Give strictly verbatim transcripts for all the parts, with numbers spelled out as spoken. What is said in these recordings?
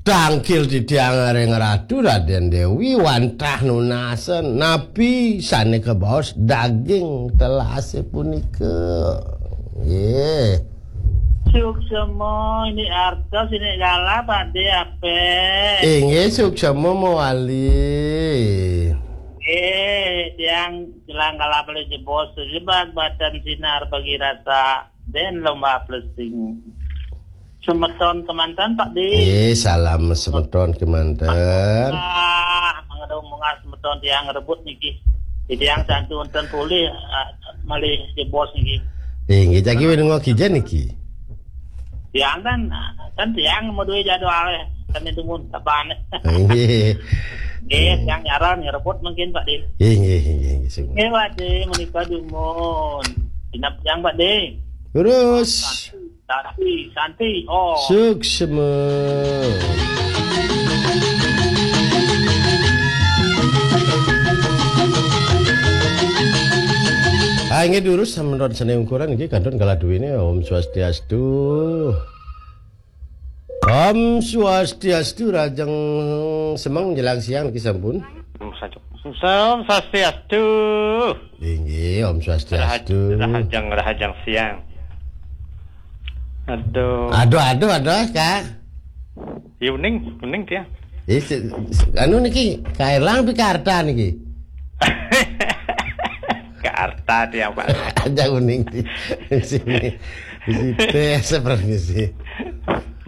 Tangkil titiang ring Ratu Raden Dewi wantah nunasen napi sane kabaos daging telase punika. Nggih. Suksema ini artos ini galah, Pak De, ape? Inggih, suksema mawali. Nggih, tiang jelang galah beli jebos, jebak batan sinar bagi rasa. Den lomba blessing. Semeton kemanten, Pak De. Eh, salam semeton kemanten. Ah, mangda munggah semeton tiang rebut niki. Tiang santu enten pulih, ah, malih jebos niki. Eh, nggih, jagi wengi kija niki. Tiang kan, kan tiang mau duwe jadwal, kan itu mun kapan. Nggih. Nggih, tiang nyaran ngerebut mungkin, Pak De. Nggih, nggih, nggih, nggih, sing. Nggih, Pak De, menika dumun. Genep tiang, Pak De. Terus. Santi, santi. Oh. Suksma. Ah, inggih durus sampun sane ungkuran nggih kantun kala duwene. Om Swastiastu. Om Swastiastu, rahajeng semeng jelang siang niki sampun. Om Swastiastu. Om Swastiastu. Inggih, Om Swastiastu. Rahaj-, rahajeng, rahajeng siang. Aduh. Aduh, aduh, aduh, Kak. Ya, uning, uning dia. Eh, se-, se-, anu niki, Kak Erlang pi Kak Arta niki? Kak Arta dia, Pak. Aja uning di, di sini. Di sini teh seperti sih.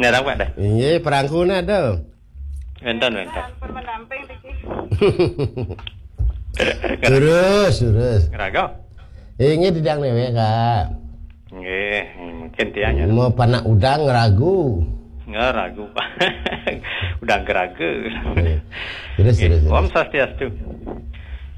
Ngarang, Pak, dah. Inggih, perangkuna ada. Wenten, wenten. Sampun mendamping niki. Terus, terus. Ngerago? Inggih, tidak newek, Kak. Nggih, mungkin dia ya. Mau panak udang ngeragu. Nggak ragu, Pak. Udang ngeragu. Nggih. Terus, nggih, terus, terus. Om Swastiastu.